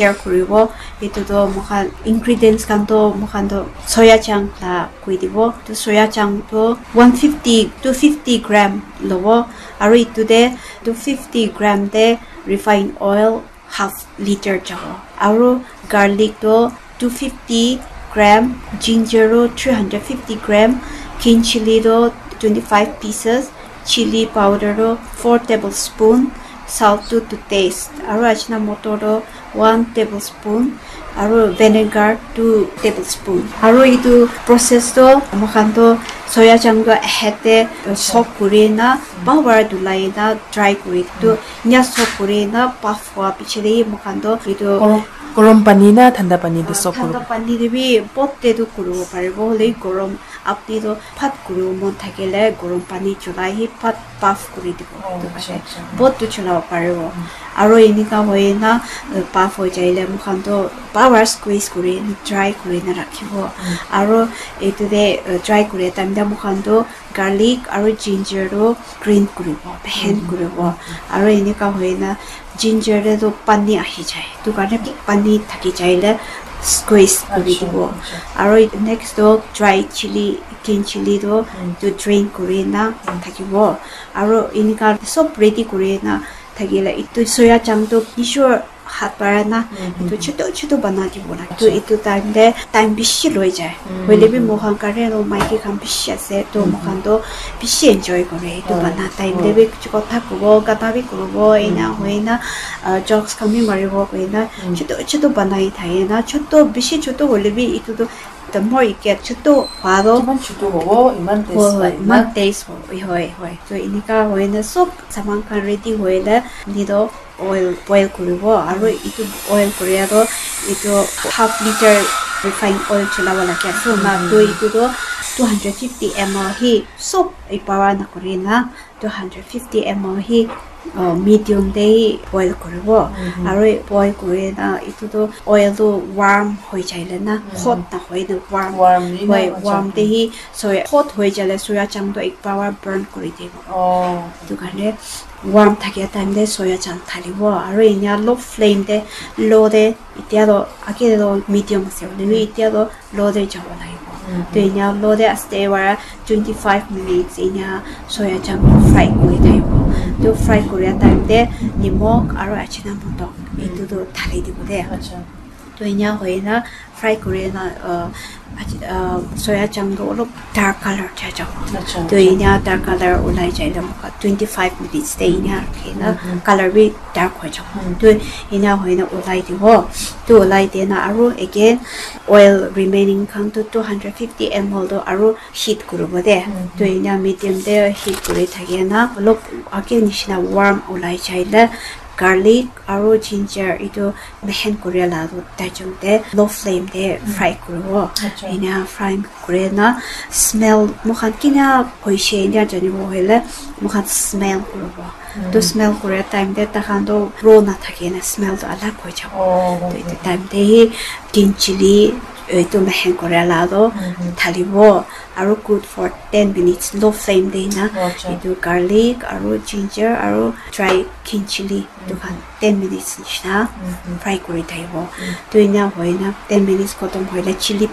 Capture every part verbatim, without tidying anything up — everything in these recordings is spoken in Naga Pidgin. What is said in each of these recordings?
share kuribo. Etu toh moikhan ingredients khan toh moikhan toh soya chunk la koi dibo. Tu soya chunk toh one fifty, two fifty gram lobo. Aru etu te two fifty gram te refined oil half liter jabo. Aru garlic toh two fifty gram, ginger toh three hundred fifty gram, green chili toh twenty-five pieces, chili powder toh four tablespoon, salt toh to taste, aru ajina motor toh one tablespoon, aru vinegar two tablespoon. Aru etu process toh moikhan toh soya chunk toh ahead te soak kuri na bhal para dhulai na dry kuri tu nya soak kuri na puff hua piche te moikhan toh etu Gorom, gorom pani na thanda pani te soak thanda kuribo? Pani te bi pot te tu kuribo paribo, hoile gorom apni toh bhat kuribo mon thakile gorom pani cholai hi bhat puff kuri dibo. Oh, etu acha, karne acha. Pot tu cholabo paribo. Aru enika hoi na, uh, puff hoi jaile moikhan toh power squeeze kuri na dry kuri na rakhibo. Aru etu te, uh, dry kuri time te moikhan toh garlic aru ginger toh grind kuribo, blend kuribo. Aru enika hoi na ginger te toh pani ahi jai. Etu karne pani thaki jaile squeeze kuri dibo. Aru next toh dry chili, green chili toh etu drain kuri na thakibo. Aru enika sob ready kuri na thakile etu soya chunk toh nijor hat para na etu chotu chotu banai dibo lage. To etu time te time bishi loi jai. Hoile bi moikhan karne toh maiki khan bishi ase. To moikhan toh bishi enjoy kore. Etu banai time te bi kotha kobo, gana bi kuribo, ena hoi na, ah, jokes khan bi maribo koi na chotu chotu banai thake na. Chotu, bishi chotu hoile bi etu toh the more you get, chotu hwa toh jiman chotu hobo, iman taste hoi, hoi, pai na. Iman taste hobo. Hoi, hoi. To enika hoi na sob saman khan ready hoi na, ni toh oil boil kuribo, aru etu oil kuria toh etu half liter refined oil cholabo lage ase na. To etu toh two hundred fifty M L hi sob ekbaar na kuri na two hundred fifty M L hi, uh, medium te hi boil kuribo. Aru boil kuri na etu toh oil toh warm hoi jaile na, hot na hoi na, warm. Warm ni na, hoi, acha. Warm te hi, so hot hoi jaile soya chunk toh ekbaar burn kuri dibo. Oh. Etu karne warm thakia time te soya chunk thalibo aru enia low flame te, low te, etia toh age te toh medium ase hoile bi etia toh low te jabo lagibo. To enia low te aste para twenty five minutes enia soya chunk fry kuri thaibo. To fry kuria time te nimok aru ajina moto etu toh thali dibo de. Acha. To enia hoi na fry kuri na, uh, ach-, uh, soya chunk toh olop dark color chai jabo. Acha, to acha. Enia dark color ulai jai le moikhan twenty five minutes te enia rakhi na color bi dark hoi jabo. To enia hoi na ulai dibo. To ulai di na aru again oil remaining khan toh two hundred fifty M L toh aru heat kuribo de. To enia medium te heat kuri thaki na olop age nishina warm ulai jai le garlic aru ginger etu mehen kuria la toh tai jun te low flame te fry kuribo. Acha. Enia fry kuri na smell moikhan kina hoise enia janibo hoile moikhan smell kuribo. To smell kuria time te takhan toh raw na thaki na smell toh alag hoi jabo. Oh. To etu time te hi green chili etu mehen kuria la toh thalibo aru good for ten minutes low flame te na. Acha. Etu garlic aru ginger aru dry green chili etu khan ten minutes nishina fry kuri thaibo. To enia hoi na ten minutes khotom hoile chili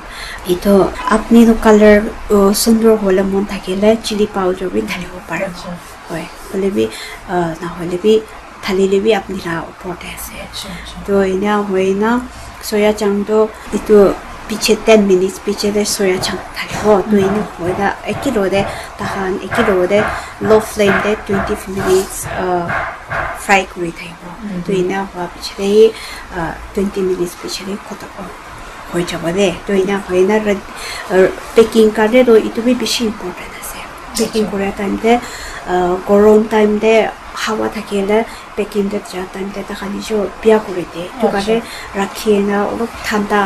etu apni toh color, uh, sundor hole mon thakile chili powder bi thalibo pare. Acha. Hoi, hoile bi, uh, na hoile bi thalile bi apni la upor te ase. Acha, acha. To enia hoi na soya chunk toh etu piche ten minutes piche te soya chunk thalibo. To enia hoi na eki lo te takhan eki lo te low flame te twenty minutes, uh, fry kuri thaibo. To enia hua piche te, uh, twenty minutes piche te khotom hoi jabo de. To enia hoi na ra-, uh, packing karne toh etu bi bishi important ase. Packing kuria time te, uh, gorom time te hawa thakile packing te ja time te takhan nijor bia kuri de. Etu karne rakhi na olop thanda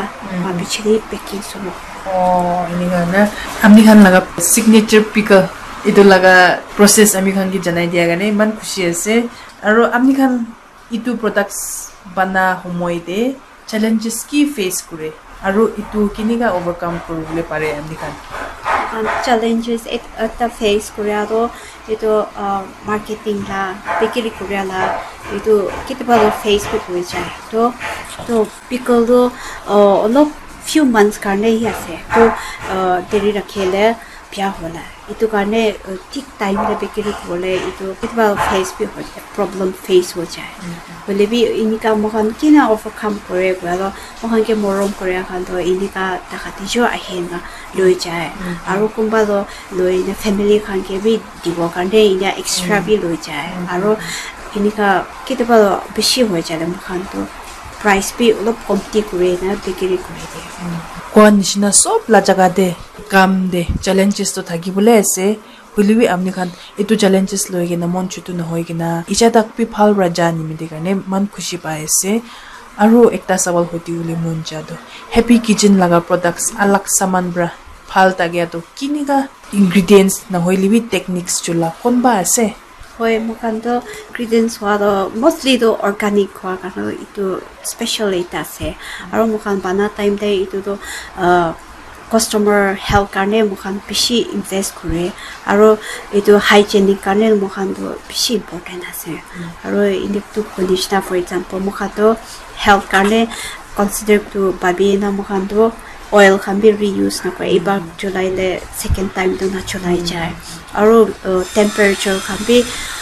piche te packing suru. Oh, enika na. Ami khan laga signature pickle etu laga process ami khan ke janai dia karne iman khushi ase. Aru ami khan etu products bana homoi te challenges ki face kure aru etu kinika overcome kuribole pare ami khan? Um, challenges et- ekta face koria to itu uh, marketing la, bakery koria la, itu kitiba lo face bi kuri jai. To to pickle to uh, olop few months karne hi ase. To uh, deri rakhile bia hola. Itu karne uh, thik time te bakery kobole itu kitiba face bi hoi, problem face ho jai. Hoile bi inika moikhan kina overcome kore koile moikhan ke morom koria khan to inika taka tiju ahi na loi jai. Aro kunba to loi na family khan ke bi dibo karne ina extra bi loi jai. Aro inika kitiba to bishi hoi jai le moikhan to price bi olop komti kuri na bakery kuri de. Koa nishina sob la jaga te kam te challenges to thaki bole ase. Hoile bi apni khan etu challenges loi kena mon chutu nohoi kena icha tak bi bhal para ja nimite karne man khushi pai ase. Aru ekta sawal hoti bole mon ja to Happy Kitchen laga products alag saman para bhal thakia to kinika ingredients nohoile bi techniques chula konba ase? Hoi, moikhan to ingredients hwa to mostly to organic hwa karne etu special ekta ase. Aro moikhan bana time te etu to uh, customer health karne moikhan bishi invest kore. Aro etu hygienic karne moikhan to bishi important ase. Aro etu to koi nishina, for example, moikhan to health karne consider to babi na moikhan to oil khan bi reuse na kore. Iba chulai le second time to na chulai jai. Aro uh, temperature khan bi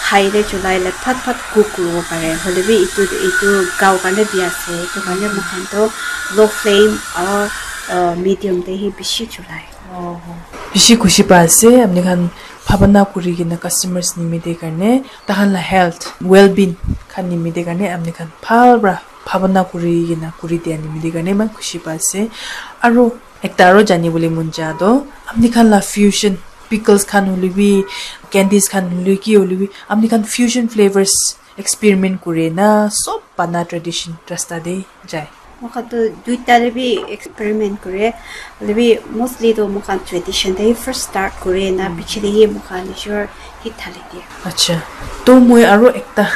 high te chulai le phat phat cook kuribo pare. Hoile bi etu etu gao karne bi ase. Etu karne moikhan to low flame aro uh, medium te hi bishi chulai. Bishi khushi pa ase apni khan bhabana kuri kena customers nimite karne, tahan la health, well-being khan nimite karne apni khan bhal para bhabana kuri kena kuri dia nimite karne eman khushi pa ase. Aru ekta aru jani bole mon ja to apni khan la fusion pickles khan hoile bi, candies khan hoile ki hoile bi apni khan fusion flavors experiment kure na sob bana tradition rasta te jai. Moikhan to duita te bi experiment kure, hoile bi mostly to moikhan tradition te first start kure na piche te hi moikhan nijor hit thali dia. Acha, to moi aru ekta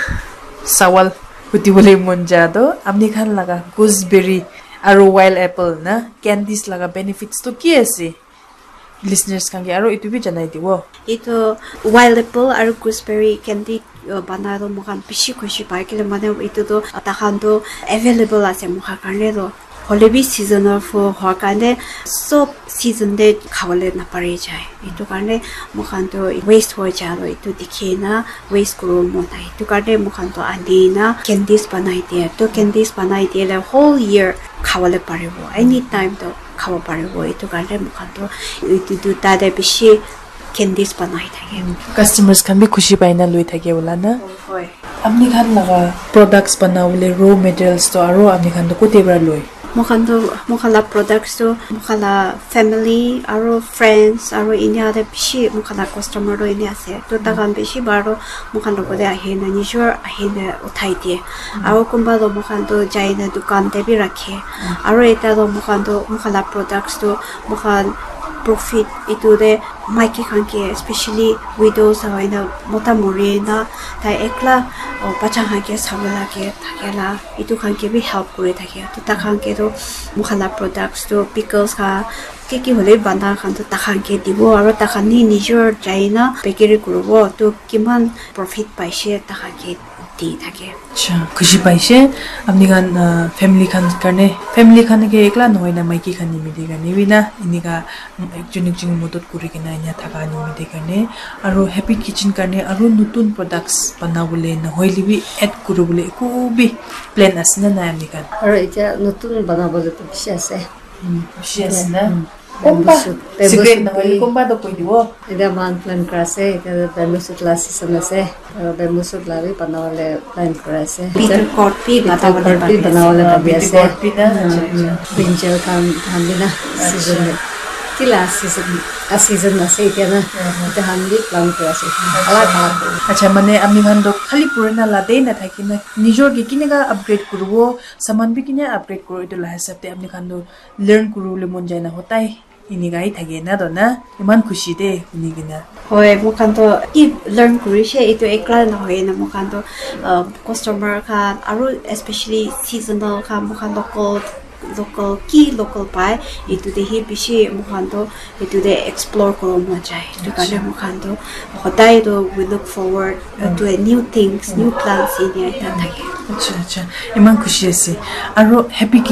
sawal huti bole mon ja to apni khan laga gooseberry aru wild apple na candies laga benefits to ki ase? Listeners khan ke aro etu bi janai dibo. Etu wild apple aro gooseberry candy uh, bana to moikhan bishi khushi pai kile mane etu to takhan to available ase moikhan karne to, hoile bi seasonal fruit hwa karne sob season te khabole napari jai. Etu karne moikhan to waste hoi ja to etu dikhi na waste kuribo mon nai. Etu karne moikhan to ani na candies banai dia. To candies banai dia le whole year khabole paribo. Anytime to khabo paribo. Etu karne moikhan to etu duita te bishi candies banai thake. Customers khan bi khushi pai na loi thake wala na. Hoi. Apni khan laga products banabole raw materials to aro apni khan to kote para loi? Moikhan to moikhan la products to moikhan la family aro friends aro India te bishi moikhan la customer to India ase. To takhan bishi bar to moikhan logot te ahi na nijor ahi na uthai diye. Aro kunba to moikhan to jai na dukan te bi rakhe. Aro ekta to moikhan to moikhan la products to moikhan profit etu te maiki khan ke, especially widows hoina mota mori na tai ekla bacha khan ke sabo lage thake la etu khan ke bi help kuri thake. To takhan ke to moikhan la products to pickles khan ki ki hole bana khan to takhan ke dibo aro takhan ni nijor jai na bakery kuribo. To kiman profit paise takhan ke di thake. Acha, khushi paise. Apni khan uh, family khan karne, family khan ke ekla nohoi na maiki khan nimite karne bi na enika ekjon ekjon modot kuri kena ena thaka nimite karne, aro Happy Kitchen karne aro notun products banabole nohoile bi add kuribole eku bi plan ase na nai apni khan? Aro etia notun banabole to bishi ase. Bishi ase na? Bamboo shoot, bamboo shoot nohoi bi. Kunba to koi dibo. Etia moikhan plan kura ase, etia bamboo shoot la season ase. Aro bamboo shoot la bi banabole plan kura ase. Betel gourd bi banabole bhabi ase. Betel gourd bi na? Acha, acha. Brinjal khan, khan bi na season te. Kila season, a season ase etia na. Etia khan bi plan kura ase. Alag alag. Acha, mane ami khan to khali purana la te na thaki na, nijor ke kineka upgrade kuribo, saman bi kine upgrade kuribo, etu la hisab te ami khan to learn kuribole mon jai na hotai enika hi thake na to na, eman khushi de huni kena. Hoi, moikhan to ki learn kurishe, etu ekla nohoi na, moikhan to uh, customer khan aru especially seasonal khan, moikhan local local ki local pai etu te hi bishi moikhan to etu te explore koro mon jai. Etu karne moikhan to hodai to we look forward uh, to a new things, new plants in here ta thake. Acha acha, iman khushi ase. Aro Happy Kitchen